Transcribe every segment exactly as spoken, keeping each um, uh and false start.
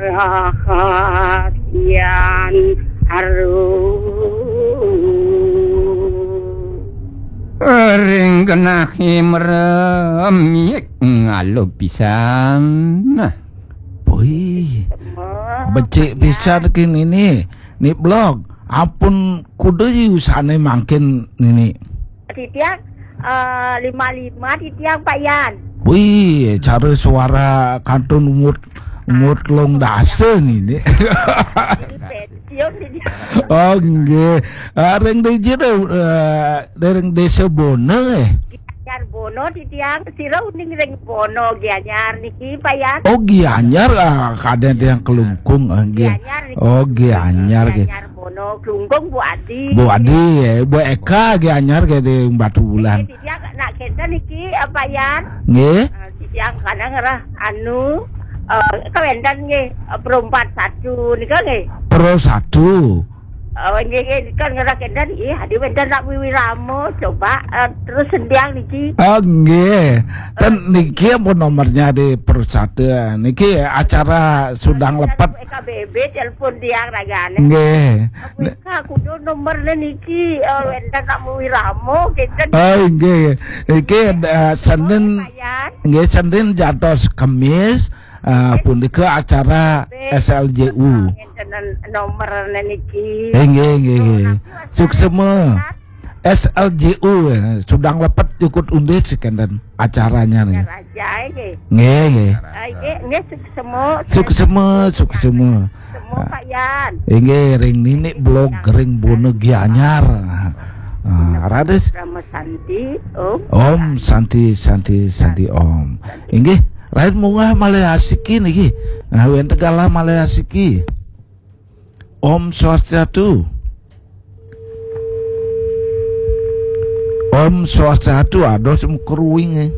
Rahasian haru. Ring genah himrem yik ngalo pisan. Nah. Wih, becik pisan kini ni. Ni blog. Ampun kuda usahane mangkin nini. Titiang eh, lima lima titiang Pak Yan. Wih, cara suara kantun umut umut long dasa nini. Pensiun titiang. Oh, nggih. Ah, ring dija, eh, ring desa Bona, eh. Gianyar Bono titiang, sira uning ring Bono Gianyar niki Pak Yan. Oh, Gianyar, ah, kadang ada yang kelungkung, ah, nggih. Gianyar niki. Oh, Gianyar, nggih. Gianyar Bono, Klungkung Bu Adi. Bu Adi, ya, Bu Eka Gianyar, nggih, di Batu Bulan. Nggih, titiang nak kenten niki, eh, Pak Yan. Nggih. Eh, titiang kadang ngerah anu, eh, kawenten nggih, eh, Pro empat satu nika nggih. Pro satu. Oh, nggih, nggih, kan ngerah kenten, ih, adi wenten nak wiwirama, coba, eh, terus sendiang niki. Oh, nggih. Ten niki ampun nomornya di Pro satu. Niki acara sudang lepet. Eka B B telepon tiang ragane. Nggih. Eka kudu nomornya niki, eh, wenten nak wiwirama, kenten. Oh, nggih. Niki, eh, Senin, Pak Yan. Nggih, Senin jantos Kemis, eh, punika acara S L J U. Ngenten nomor niki. Eh, nggih, nggih, nggih. Suksema. S L J U, eh, sudang lepet jukut undis kenten acaranya nih. Acara aja, nggih. Nggih, nggih. Ah, nggih, nggih, suksema. Suksema, suksema. Semua Pak Yan. Inggih, ring nini blog ring Bona Gianyar. Ah, raris. Rama Santi, Om. Om Santi, Santi, Santi, Om. Inggih, raris munggah malih asiki niki. Ah, wenten galah malih asiki. Om Swastiastu. Om Swastiastu, aduh, semu keruing, eh.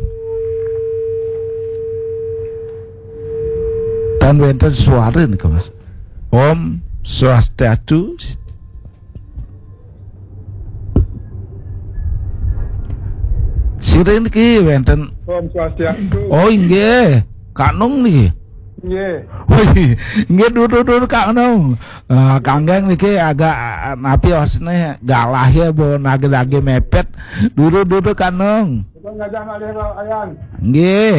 Dan wenten suara nih, Mas. Om Swastiastu. Sirin ki wenten. Om Swastiastu. Oh, inggih. Kak Nung niki. Nggih. Wih, nggih, dudu-dudu Kak Nung. Ah, kanggeng niki agak, ah, napi wasne galah ya, bo nage-nage mepet. Dudu-dudu Kak Nung. Kita ngadah malih, Pak Yan. Nggih.